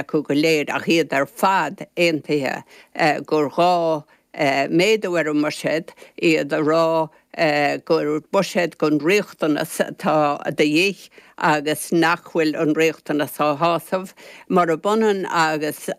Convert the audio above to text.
acu go léir ach iad ar fad aontaithe gur ghá méadú ar an mbuiséad, iad a rá gur buiséad don riachtanas atá de dhíth agus nach bhfuil an riachtanas á shásamh. Murab ionann agus.